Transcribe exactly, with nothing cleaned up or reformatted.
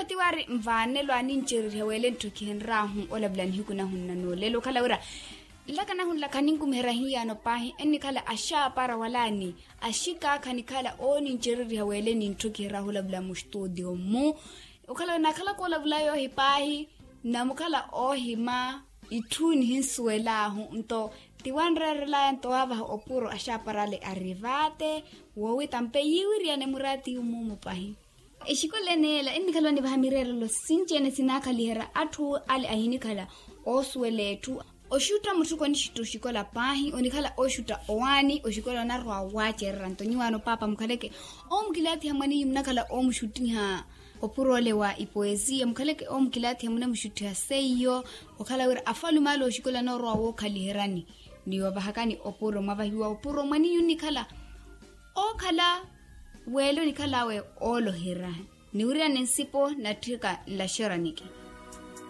Tiwari nvaanelo anincereriha wele ntthokihenraahu olavula nihiku nahunna noolelo okhala wira nlaka nahunlaka ninkumiherya hiyaano paahi ennikhala axaapara wala ani axikaakha nikhala oonincereriha wele nintthokiherahu olavula mustutio mmu. Okhala wira nakhalaka olavula yoohi paahi namukhala oohima itthu nihinsuwelaahu nto tiwanreerelaya nto waavaha opuro axaapara ale arivaate woowita mpe yiiwiriyane muraati yummuumu paahi. Exikola eneela ennikhala onivaha mireerelo sinci-ene sinaakhaliherya atthu ale ahinikhala oosuwela etthu. Oxutta mutthu konixutta oxikola paahi onikhala oxutta owaani oxikola onarwa waacerera nto nyuwaano paapa mukhaleke oomukilaathiha mwan'inyu munakhala oomuxuttiha opuro ole wa ipoesiya mukhaleke oomukilaathiha munamuxuttiha seiyo okhala wira afalume ale oxikola anoorwa wookhaliheryani ni ovahakani opuro mwavahiwa opuro mwan'inyu nnikhala ookhala wele onikhal'awe ooloherya niwiriyane nsipo natthika nlaxeraniki.